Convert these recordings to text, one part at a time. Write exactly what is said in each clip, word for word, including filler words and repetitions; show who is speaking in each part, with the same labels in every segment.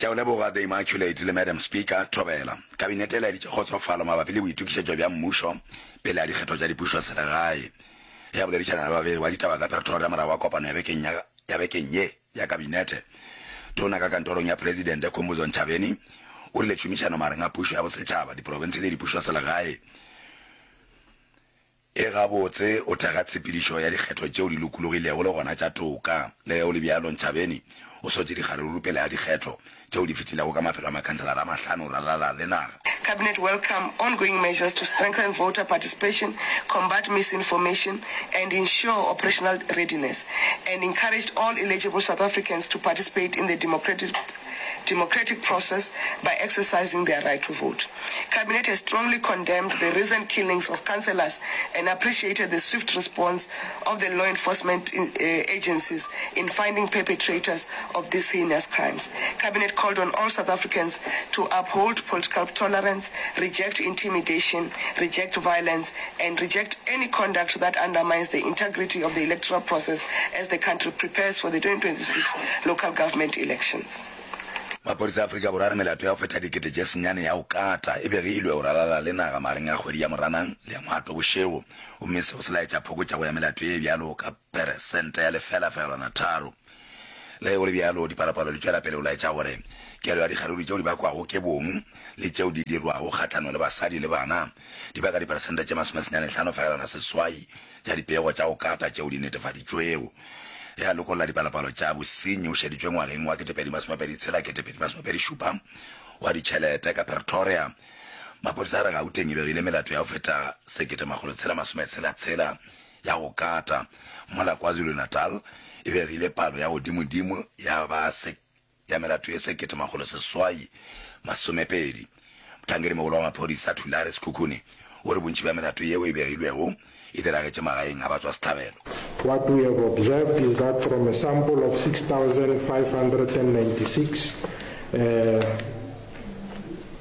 Speaker 1: Ke a o leboga The Immaculate le Madam Speaker, Thobela. Kabinete e laeditše kgotsofalo mabapi le boitokišetšo bja mmušo pele ga dikgetho tša dipušoselegae. Ge a boledišana le babegi ba ditaba ka Pretoria morago ga kopano ya bekeng ya ya bekeng ye ya Kabinete, Tona ka kantorong ya Presidente Khumbudzo Ntshavheni o rile tšhomišano magareng a pušo ya bosetšhaba, diprofense le dipušoselegae e gabotse o thekga tshepedišo ya dikgetho tšeo di lokologilego le gona tša toka. Le ge go le bjalo, Ntshavheni o sotše dikgaruru pele ga dikgetho tšeo di fetilego ka maphelo a makhanselara a mahlano go ralala le naga.
Speaker 2: Cabinet welcome ongoing measures to strengthen voter participation, combat misinformation and ensure operational readiness, and encouraged all eligible South Africans to participate in the democratic democratic process by exercising their right to vote. Cabinet has strongly condemned the recent killings of councillors and appreciated the swift response of the law enforcement uh, agencies in finding perpetrators of these heinous crimes. Cabinet called on all South Africans to uphold political tolerance, reject intimidation, reject violence, and reject any conduct that undermines the integrity of the electoral process as the country prepares for the twenty twenty-six local government elections.
Speaker 1: Maphodisa a Afrika Borwa a re melato ya go feta dikete tše senyane ya go kata e begilwe go ralala le naga magareng a kgwedi ya Moranang le ya Ngwatobošego, gomme seo se laetša phokotšego ya melato ye bjalo ka peresente ya lefela fegelwana tharo. Le ge go le bjalo, dipalopalo di tšwela pele go laetša gore kelo ya dikgaruru tšeo di bakwago ke bong le tšeo di dirwago kgahlanong le basadi le bana di baka diperesente tše masomesenyane hlano fegelwana seswai tša dipego tša go kata tšeo di netefaditšwego. Ge a lokolla dipalopalo tša bosenyi o šeditšwe ngwageng wa ketepedi masomepedi tshela ketepedi masomepedi šupa wa ditšhelete ka Pretoria, maphodisa a re Gauteng e begile melato ya go feta sekete makgolo tshela masome tshela tshela ya go kata, mola KwaZulu-Natal e begile palo ya godimodimo ya ba ya melato ye sekete makgolo seswai masomepedi. Mohlankedi-mogolo wa maphodisa Thulare Sekhukhune o re bontši bja melato yeo e begilwego e diragetše magaeng a batswasehlabelo.
Speaker 3: What we have observed is that from a sample of six thousand five hundred and ninety-six,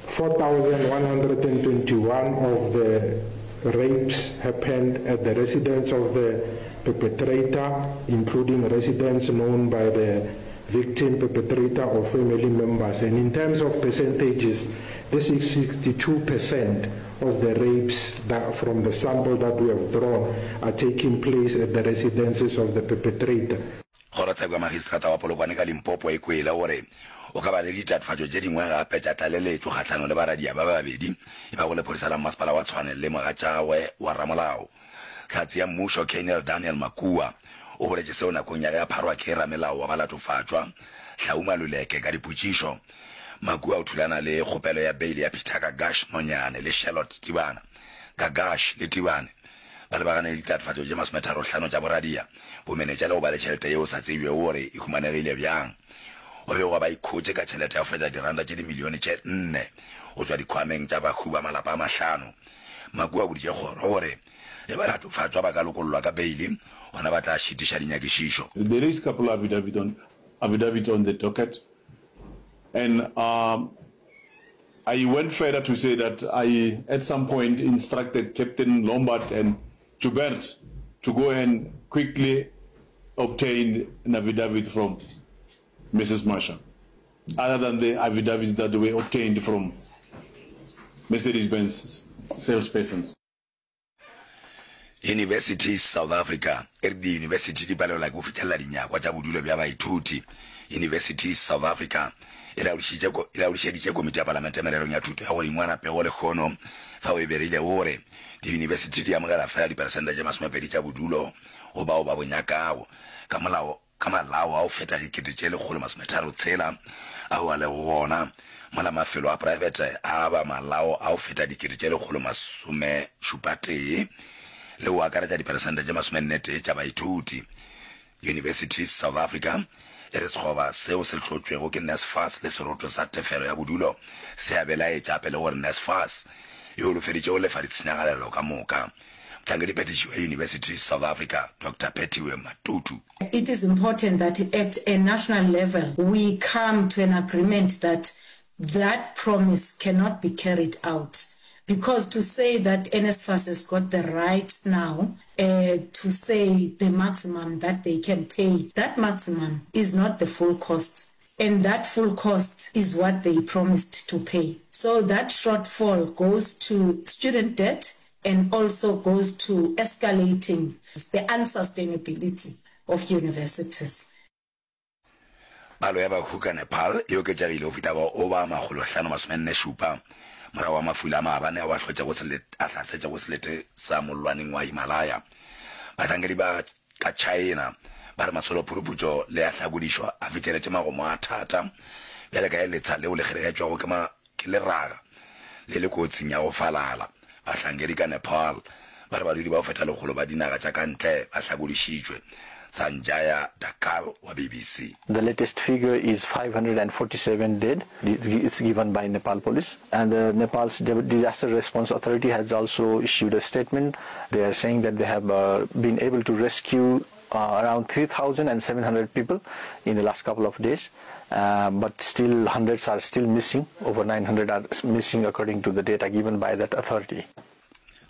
Speaker 3: four thousand one hundred and twenty-one of the rapes happened at the residence of the perpetrator, including residents known by the victim, perpetrator or family members. And in terms of percentages, this is sixty-two percent of the rapes that from the sample that we have drawn are taking place at the residences of the perpetrator.
Speaker 1: Kgorotsheko ya Magistrata wa Polokwane ka Limpopo e kwele gore o ka ba le ditatofatšo tše dingwe gape tša tlaleletšo kgahlanong le baradia ba babedi e bago lephodisa la Mmasepala wa Tshwane le mogatšagwe wa ramolao. Hlatse ya mmušo Colonel Daniel Makua o boletše seo nakong ya ge a pharwa ke ramelao wa balatofatšwa Hlau Maluleke ka dipotšišo. Makua o thulana le kgopelo ya beile ya Peter Gagash Nonyane le Charlotte Tibana. Gagash le Tibane ba lebagane le ditatofatšo tše masometharo-hlano tša boradia, bomenetša le go ba le tšhelete yeo sa tsebjego gore e humanegile bjang. Go begwa ba ikhotše ka tšhelete ya go feta diranta tše dimilione tše nne go tšwa dikhwameng tša bahu ba malapa a mahlano. Makua o boditše kgoro gore ge balatofatšwa ba ka lokollwa ka beile, gona ba tla šitiša dinyakišišo.
Speaker 4: There is couple affidavit on, affidavits on the docket and um, I went further to say that I at some point instructed Captain Lombard and Joubert to go and quickly obtain an affidavit from Missus Masha, other than the affidavits that were obtained from Mercedes-Benz salespersons.
Speaker 1: Universities South Africa e re diyunibesithi di palelwa ke go fihlelela dinyakwa tša bodulo bja baithuti. Universities South Africa e laodišitše e laodišeditše Komiti ya Palamente Mererong ya Thuto ya Godingwana pego lehono fao e begilego gore diyunibesithi di amogela fela diperesente tše masomepedi tša bodulo go bao ba bo nyakago ka molao ka malao a go feta dikete tše lekgolo masometharo tshela ao a lego gona, mola mafelo a praebete a aba malao a go feta dikete tše lekgolo masomešupa tee le go akaretša diperesente tše masomenne tee tša baithuti. Universities South Africa e re sekgoba seo se hlotšwego ke NSFAS le seroto sa tefelo ya bodulo se a belaetša gape le gore NSFAS e holofeditše go lefa ditshenyagalelo ka moka. Mohlankedi-phethiši wa Universities South Africa, Doctor Phethiwe Matutu.
Speaker 5: It is important that at a national level we come to an agreement that that promise cannot be carried out because to say that NSFAS has got the right now to say the maximum that they can pay, that maximum is not the full cost. And that full cost is what they promised to pay. So that shortfall goes to student debt and also goes to escalating the unsustainability of universities.
Speaker 1: Palo ya bahu ka Nepal e oketšegile go fihla go ba makgolo-hlano masomenne šupa morago ga mafula a maabane ao a hlotšego a hlasetšego selete sa mollwaneng wa Himalaya. Bahlankedi ba ka China ba re masolo-phuruputšo le a hlakodišo a fihleletše magomo a thata bjale ka ge letsha leo le kgeregetšwago ke ke leraga le le kotsing ya go falala. Bahlankedi ka Nepal ba re badudi ba go feta lekgolo ba dinaga tša ka ntle ba hlakodišitšwe. Sanjaya Dhakal wa BBC.
Speaker 6: The latest figure is five hundred and forty seven dead, it's given by Nepal police and the Nepal's disaster response authority has also issued a statement. They are saying that they have been able to rescue around three thousand and seven hundred people in the last couple of days, but still hundreds are still missing, over nine hundred are missing according to the data given by that authority.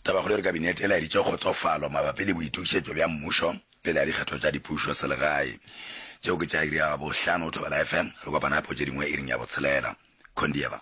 Speaker 1: Tabakgolo e re Kabinete e laeditše kgotsofalo mabapi le boitokišetšo bja mmušo pele ga dikgetho tša dipušo selegae. Tšeo ke tša iri ya bohlano go Thobela F M. Re kopana gape go tše dingwe iring ya botshelela. Khondieva.